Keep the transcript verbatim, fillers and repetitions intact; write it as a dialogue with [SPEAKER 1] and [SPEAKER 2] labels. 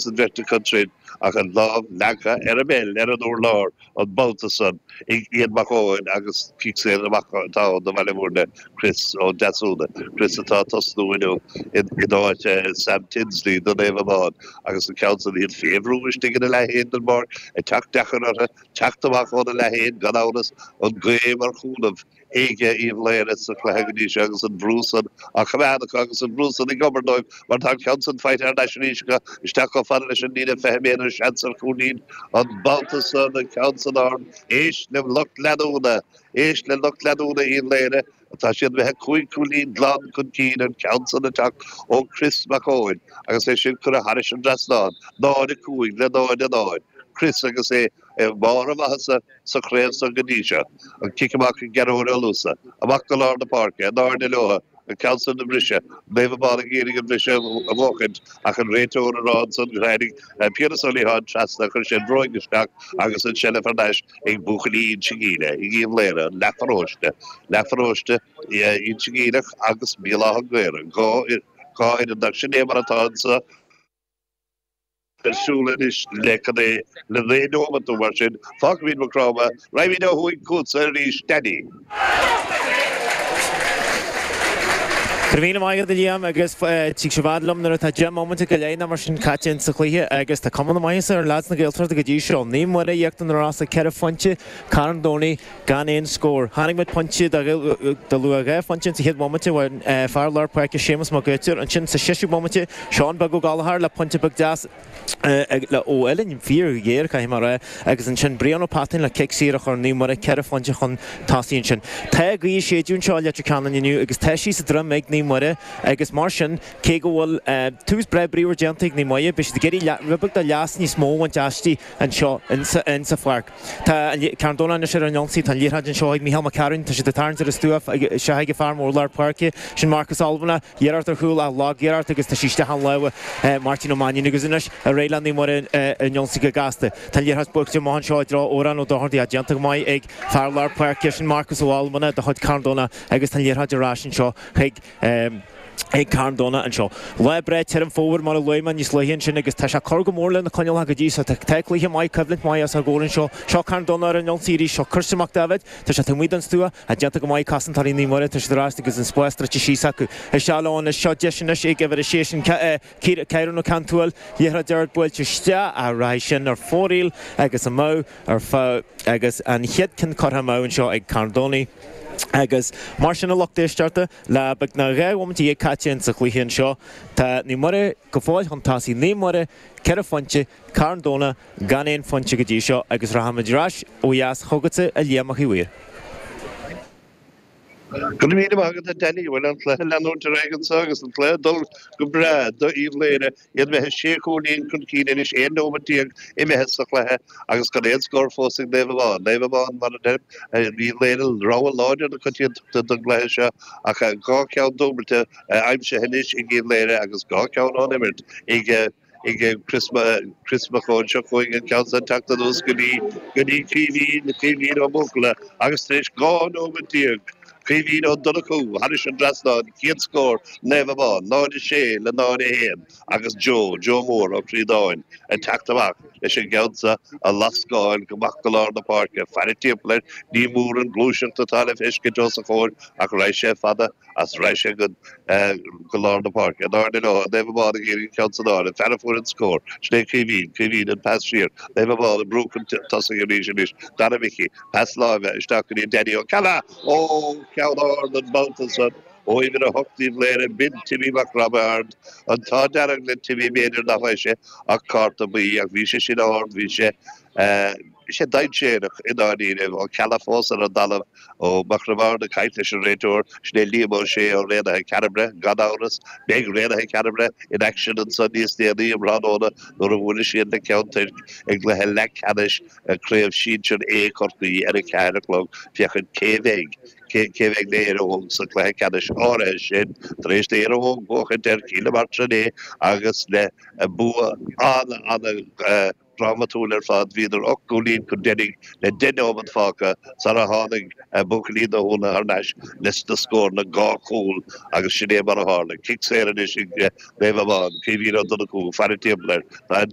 [SPEAKER 1] An bheirt acu tríd ach an lámh leagtha ar an bpeil ar an urlár an babhta san ag Ian Mac Eoin agus cic saor amach atá ann do Bhaile Mhúirne, Chris Ó Deasúna, Chris atá ag tosnú inniu in áit Sam Tinsley do Naomh Abán agus an ceann san iad fé bhrú istigh ina leath féin den bpáirc ag teacht deacair orthu teacht amach óna leath féin gan amhras an ghaoth mar chúnamh ag Uíbh Laoghaire sa chluiche go dtí seo agus an brú san á choimeád acu agus an brú san ag obair dóibh mar tá an ceann san faighte thar n-ais arís acu isteach chomh fada leis an líne fiche méadar seans ar chúilín an babhta san an ceann san ard éist le lucht leanúna éist le lucht leanúna Uíbh Laoghaire atá siad imithe cúig chúilín glan chun cinn an ceann san ag teacht ó Chris Mac Eoin agus é sin curtha thairis an dtrasnán náid a cúig le náid a náid Chris agus é i mbarr a mhaitheasa sa chraobh san go dtí seo. An cic amach ag Gearóid Ó Luasa. Amach go lár na páirce, in airde leo, an ceann san a bhriseadh. Naomh Abán ag iarraidh an briseadh a bhuachaint ach an réiteoir ag rá ansan gur tháinig Piaras Ó Liatháin trasna, chuir sé an bhróig isteach agus an tseilbh thar n-ais ag buachaillí Inse Gile, ag Uíbh Laoghaire, an leathpharóiste, leathpharóiste Inse Geimhleach agus Béal Átha an Ghaorthaidh, dhá fhoireann ach sin é mar atá anso. Ar siúl anois le cad é, le naoi nóimeat nó mar sin. Fágfaimid Maigh Chromtha, raghaimid ó thuaidh chugatsa arís, Danny.
[SPEAKER 2] Go raibh míle maith agat a Liam agus tig sé i bhfad liom nuair atá deich mbomaite go leith nó mar sin caite insa chluiche agus tá cuma na maitheasa ar leaids na Gaeltachta go dtí seo. Naomh Muire íochtar na Rosa ceithre phointe, Carn Domhnaigh gan aon scór. Chonaic muid pointe de luach dhá phointe insa chéad bhomaite, bhain fear lár páirce Séamus Mac Uidhir ansin sa seisiú bomaite, Seán Beag Ó Gallchóir le pointe beag deas ó uillinn fíor-ghéar, caithfidh mé a rá, agus ansin Brian Ó Peatáin le cic saor a chuir Naomh Muire ceithre phointe chun tosaigh ansin. Tá gaoth ag séideadh anseo i Leitir Ceanainn inniu agus tá sí sa droim ag Naomh Muire agus mar sin, cé go bhfuil tús breá bríomhar déanta ag Naomh Muire, beidh siad ag iarraidh rud beag de leas níos mó a bhaint aisti anseo insa pháirc. Tá Carn Domhnach anois ar an ionsaí, tá an liathróid anseo ag Mícheál Mac Cearúin, tá siad ag tarraingt ar an stua isteach ag an fear mór lár páirce, sin Marcus Albanach, iarracht ar chúl ach lag-iarracht agus tá sí isteach i lámha Máirtín Ó Mainnín agus anois ar aghaidh le Naomh Muire ar an ionsaí go gasta. Tá an liathróid buailte amach anseo i dtreo Odhrán Ó Dochartaigh ach déanta go maith ag fear lár páirce, sin Marcus Ó Almana de chuid Carn Domhnach agus tá an liathróid ar ais anseo chuig ag Carn Domhnach anseo. Lá breá tirim fómhair mar a luaigh mé níos luaithe ansin agus tá sé ag cur go mór le na coinníollacha go dtí so. Tá cluiche maith, coimhlint mhaith os ár gcomhair anseo. Seo Carn Domhnach ar an ionsaí arís. Seo Christian Mac Daibhéid. Tá sé taobh amuigh den stua ach déanta go maith cosantóirí Naomh Muire. Tá siad ar ais agus an spás druidte síos acu. Isteach leo anois. Seo deis anois ag uimhir a sé sin Ciarán Ó Ceanntúil. Liathróid ard buailte isteach ach rachaidh sin ar fóraoil agus amú ar feadh agus an chéad ceann curtha amú anseo ag Carn Domhnaigh. Agus mar sin a lucht éisteachta, le beagnach dhá bhomaite dhéag caite insa chluiche anseo, tá Naomh Muire go fóill chun tosaigh, Naomh Muire, ceithre phointe, Carn Domhnach gan aon phointe go dtí seo agus rachaimid ar ais ó dheas chugatsa a Liam Mac Uí Mhaoir.
[SPEAKER 1] Go raibh míle maith agat a Danny, bhuel an cluiche ag leanúint ar aghaidh anseo agus an cluiche ag dul go breá do Uíbh Laoghaire. Iad imithe sé chúilín chun cinn anois, aon nóiméad déag imithe sa chluiche agus gan aon scór fós ag Naomh Abán. Naomh Abán, mar a deirim, Uíbh Laoghaire rogha láidir na coitiantachta don gcluiche seo ach dhá cheann dúbailte aimsithe anois ag Uíbh Laoghaire agus dhá cheann ón imirt ag ag Chris Chris Mac Eoin. Seo chugainn an ceann san teacht anuas go dtí go dtí Caoimhín, Caoimhín Ó Buachalla agus tar éis dhá nóiméad déag Caoimhín Ó Donnchú thairis an dtrasnán, chéad scór Naomh Abán, náid a sé le náid a haon agus Joe, Joe Mór Ó Críodáin ag teacht amach leis an gceann seo a lascáil go amach go lár na páirce. Faire timpeall air, ní mór an ghluaiseacht atá le feiscint os a chomhair ach raghaidh sé fada as raghaidh sé go go lár na páirce. In airde leo, Naomh Abán ag iarraidh an ceann san fháil, an fear a fuair an scór, sin é Caoimhín, Caoimhín an pas siar, Naomh Abán ag brú chun tosaigh arís anois, Dara Mhicí, pas láimhe isteach go dtí Danny Ó Ceallaigh! Ó, ceann ard an babhta san ó uimhir a hocht Uíbh Laoghaire, b'in Timmy Mac Roibeaird. An t-ádh dearg le Timmy b'fhéidir nach bhfaigheadh sé ach cárta buí ach bhí sé sin ard, bhí sé, bhí sé dainséarach i ndáiríre. Ó Ceallaigh fós ar an dtalamh, Ó Mac Roibeaird ag caint leis an réiteoir, sin é Liam Ó Sé ó Raonaithe Cearbaire, gan amhras. Beidh Raonaithe Cearbaire in aicsean ansan níos déanaí um thráthnóna nuair a bhuailfidh siad le Ceann Toirc i gcluiche leathcheannais Craobh Sinsir A Chorcaí ar a ceathair a chlog féachaint cé bheidh cé bheidh le Éire Óg sa chluiche ceannais áirithe sin tar éis d'Éire Óg buachaint ar Chill na Martra inné agus le bua an-an drámatúil ar fad bhíodar ocht gcúilín chun deiridh le deich nóiméad fágtha sara tháinig buachaillí na hÚna thar n-ais leis na scóranna dhá chúl agus sin é mar a tharla. Cic saor anois ag Naomh Abán, Caoimhín Ó Donnchú, faire timpeall air. Tá an